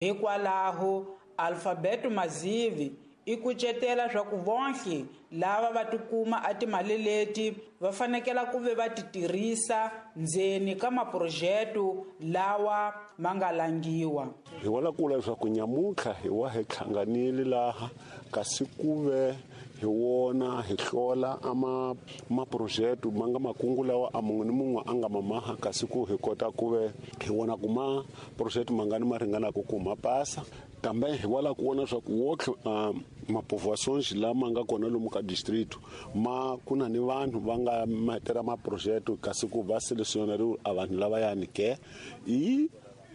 Hikwalaho, Alfabeto Mazivi i kucetela swa ku vonhle lava va tikuma a timali leti va fanekela ku ve va ti tirhisa ndzeni ka maprojeto lawa ma nga langiwa. Hi wala kula leswaku nyamuntlha hi wa hi hlanganile laha kasi ku ve hi wona hi hlola a maprojeto ma nga makungu lawa a mun'we ni mun'we a nga mamaha, kasi ku hi kota ku ve hi vona ku maprojeto mangani ma ringanaka ku ma pasa. Kambe hi wala ku vona leswaku wotlhe mapovoações lama nga kona lomu ka distrito ma ku na ni vanhu va nga matera maprojeto, kasi ku va selecionariwe a vanhu lavayani ke i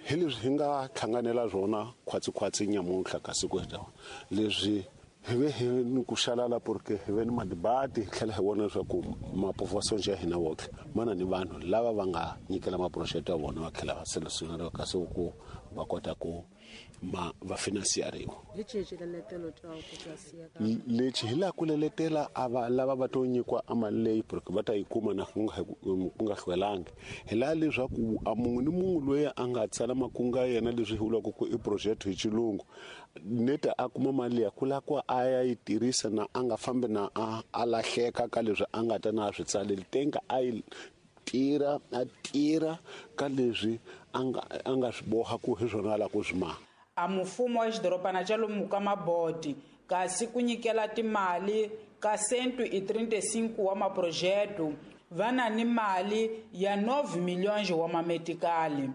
hi leswi hi nga hlanganela swona khwatsikhwatsi nyamuntlha. Kasi ku heta leswi hi ve hi ni ku xalala porque hi ve ni madibati, hi tlhela hi vona leswaku mapovoações ya hina wotlhe ma na ni vanhu lava va nga nyikela maprojeto ya vona, va tlhela va selecionariwa, kasi ku va kota ku ma va finansiyariwa. Lexi hi laha ku leletela a va lava va to nyikiwa a mali leyi porque va ta yi kuma na ku nga hlwelangi, hi laha leswaku a mun'we ni mun'we loyi a nga tsala makungu ya yena leswi hi vulaka ku i project hi xilungu neta a kuma mali liya ku lava ku a ya yi tirhisa na a nga fambi na a lahleka ka leswi a nga ta na swi tsaleli tenga a yi tirha a tirha ka leswi a nga swi boha ku hi swona a lava ku swi maha. A mufumo wa xidorobana xa lomu ka Maboti kasi ku nyikela timali ka 135 wa maprojeto va na ni mali ya 9 milhões wa mametikali.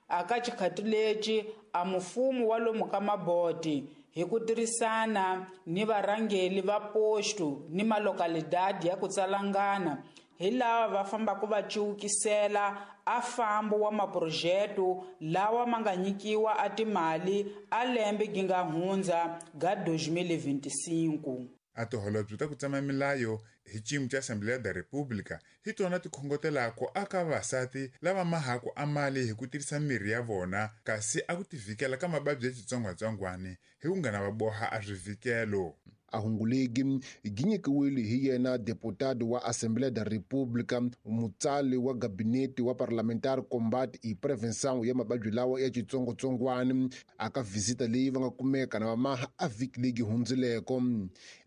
Aka xikhati lexi a mufumo wa lomu ka Maboti hi ku tirhisana ni varhangeli va posto ni malokalidadi ya ku tsalangana hi lava va fambaka va ciwukisela a fambo wa maprojeto lawa ma nga nyikiwa a timali a lembe gi nga hundza ga 2025. A tiholobye ta ku tsema milayo hi xiyimo xa Assembleia da República hi tona ti khongotelaka aka vavasati lava mahaku a mali hi ku tirhisa mirhi ya vona, kasi a ku tivhikela ka mavabyi ya xitsongwatsongwana hi ku nga na va boha a swivhikelo. A hungulegi gi nyikiwile hi yena deputado wa Assembleia da República, mutsali wa gabinete wa parlamentar combate e prevenção ya mavabyi lawa ya xitsongwatsongwana aka visita leyi va nga kumeka na vamaha a vhiki leyi hundzileko.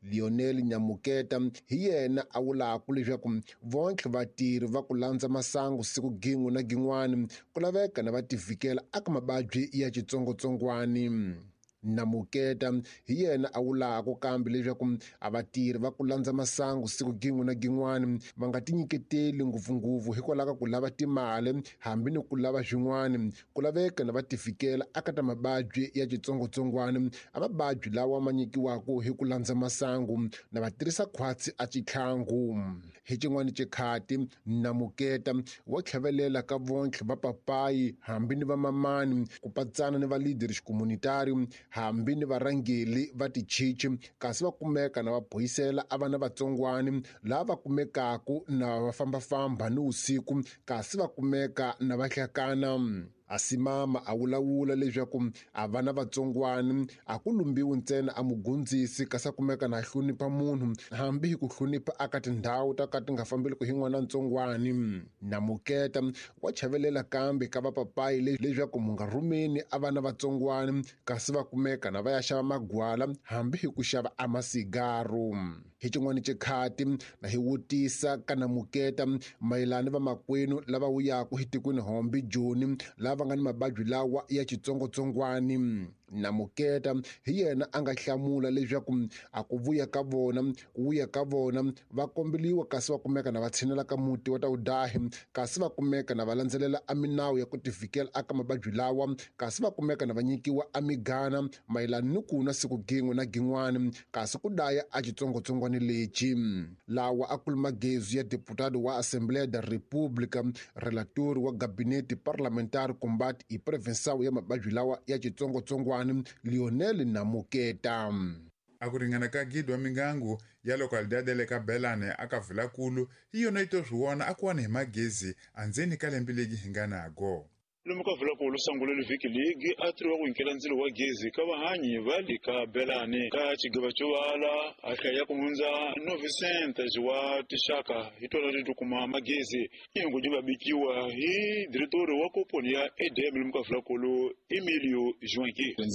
Lionel Nyamuketa hi yena a vulaka leswaku vontlhe vatirhi va ku landza masangu siku gin'we na gin'wana ku laveka na va tivhikela aka mavabyi ya xitsongwatsongwana. Namuketa hi yena a vulaka kambe leswaku a vatirhi va ku landza masangu siku gin'we na gin'wana va nga tinyiketeli ngopfungopfu hikwalaho ka ku lava timali hambi ni ku lava swin'wana, ku laveka na va tifikela aka ta mavabyi ya xitsongwatsongwana a mavabyi lawa ma nyikiwaka hi ku landza masangu na va tirhisa khwatsi a xitlhangu. Hi xin'wana xikhati Namuketa wa tlhavelela ka vontlhe va papayi hambi ni va mamani ku patsana ni va leader xikomunitari hambi ni varhangeli va tichichi, kasi va kumeka na va boyisela a vana vatsongwani lava va kumekaku na va fambafamba ni usiku, kasi va kumeka na va hlakana. Asimama a vulavula leswaku a vana vatsongwani a ku lumbiwi ntsena a mugondzisi, kasi a kumeka na hlonipha munhu hambi hi ku hlonipha aka tindhawu ta ka ti nga fambeli ku hi n'wana ntsongwani. Namuketa wa chavelela kambe ka vapapayi leswaku mu nga rhumeni a vana vatsongwani, kasi va kumeka na va ya xava magwala hambi hi ku xava a masigaru. Hi xin'wana xikhati na hi vutisa ka Namuketa mayelana vamakwenu lava wuyaka hi tikweni hombi Joni lava nga ni mavabyi lawa ya xitsongwatsongwana. Namuketa hi yena a nga hlamula leswaku a ku vuya ka vona ku vuya ka vona va kombeliwa, kasi va kumeka na va tshinela ka muti wa Tawudahi, kasi va kumeka na va landzelela a minawu ya ku tivikela aka mavabyi lawa, kasi va kumeka na va nyikiwa a migana mayelana ni ku nwa siku gin'we na gin'wana, kasi ku daya a xitsongwatsongwana lexi. Lawa a kuli magezu ya deputado wa Assembleia da República, relator wa gabinete parlamentar combate e prevenção ya mavabyi lawa ya xitsongwatsongwana Lionel Namuketa. A ku ringana ka gidi wa mingangu ya localidade le ka Belane aka Vilakulu hi yona yi to swi vona a ku wani hi magezi andzeni ka lembe legi hi nga nago. Lomu ka vulakulu sangulelo vhiki ligi a tiriwa ku nyikela ndzilo wa gezi ka vahanyi va le ka Belani ka xigava xo vala a hlaya ku hundza 900 wa tixaka hi tona leti kuma magezi. Ingu di va bikiwa hi diretori wa komponi ya EDM lomu ka vulakulu Emilio Joaquim.